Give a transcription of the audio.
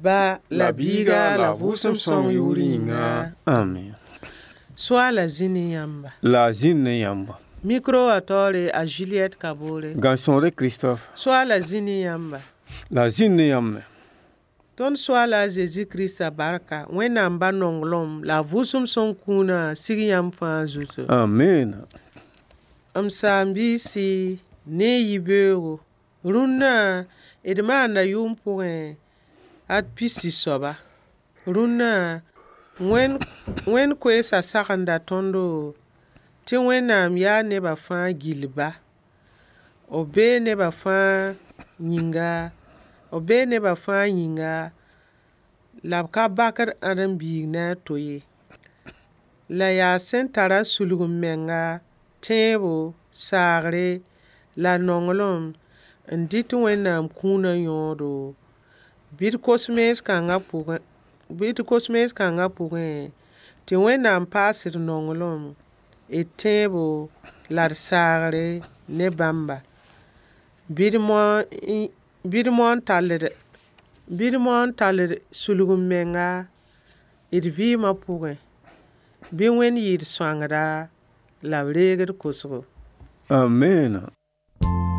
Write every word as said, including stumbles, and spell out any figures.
Ba la Biiga la Vʋʋsem sõng yʋʋr yĩnga. Amen. Soaala zĩ ne yãmba. La a zĩnd ne yãmba. Micro wã taoore a Juliette Kabore. Gãn-sõore Christophe. Soaala zĩ ne yãmba. La a zĩnd ne yãmb me. Tõnd Soaala a Zezi Krista barka, Wẽnnaam ba nonglem la a Vʋʋsem sõng kũunã sig yãmb fãa zutu. Amen. M saam-biisi ne yibeoogo rũnnã d maanda yʋʋm pʋgẽ ad pisi soaba rũnnã Wẽnd koeesã sagenda tõndo tɩ Wẽnnaam yaa nebã fãa gill ba b bee nebã fãa yĩnga b bee nebã fãa yĩnga la b ka bakd ãdem-biig ne a to ye la yaa sẽn tara sulg-m-menga tẽebo saagre la nonglem n dɩt Wẽnnaam kũunã yõodo bɩ d kos mens kãngã pʋgẽ bɩ d kos mens kãngã pʋgẽ tɩ Wẽnnaam paas d nonglem d tẽebo la d saagre ne bãmba bɩ d moon tall bɩ d moon tall sulg-m-menga d vɩɩmã pʋgẽ bɩ Wẽnd yɩ d sõangda la b reeg d kosgo. Amen.